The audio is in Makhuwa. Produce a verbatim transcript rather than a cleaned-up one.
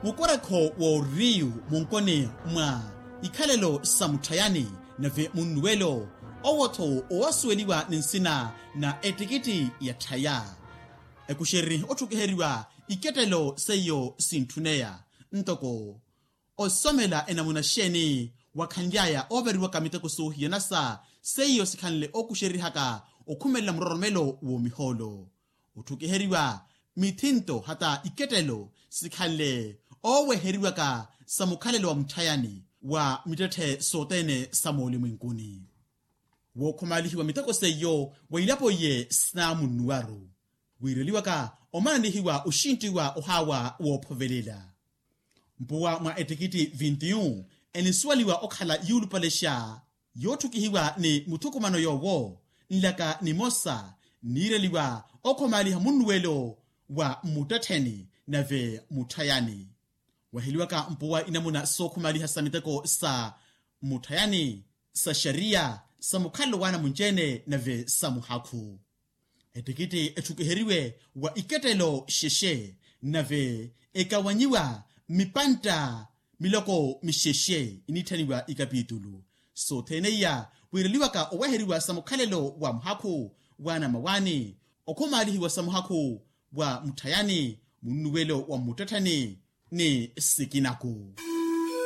Mukorekho w'oriyu munkoni mwa ikhalelo sa mutthayani nave munnuwelo, owo-tho owasuweliwa ni nsina na ettikitti ya tthaya. Ekuxererihe otthukiheriwa ikettelo seiyo sintthuneya ntoko osomela enamuna xeeni wakhanly'aya ooveriwaka miteko soohiyanasa seiyo sikhanle ookuxereryihaka okhumelela muroromelo w'omihoolo. Otthukiheriwa mithinto hata ikettelo sikhanle ooweheriwaka sa mukhalelo wa mutthayani wa mittetthe sothene sa moolimwenkuni. Wookhumaalihiwa miteko seiyo wa ilapo iye saamunnuwaru wiireliwaka omananihiwa oxinttiwa ohaawa woophovelela. Mpuwa mwa ettikitti vinti-yu enisuwaliwa okhala yuulupalexa yoottukihiwa ni muthukumano yoowo nlaka nimosa niireliwa okhumaaliha munnuwelo wa mmuttettheni nave mutthayani. Waheliwaka mpuwa inamuna sookhumaaliha sa miteko sa mutthayani, sa xariya, sa mukhalelo w'anamunci-ene nave sa muhakhu. Ettikitti etthukiheriwe wa ikettelo xexe nave ekawanyiwa mmipantta miloko mixexe iniitthaniwa ikapitulu. Sothene iya wiireliwaka oweheriwa sa mukhalelo wa muhakhu w'anamawaani, okhumaalihiwa sa muhakhu wa mutthayani, munnuwelo wa mmuttettheni ni sikinaku.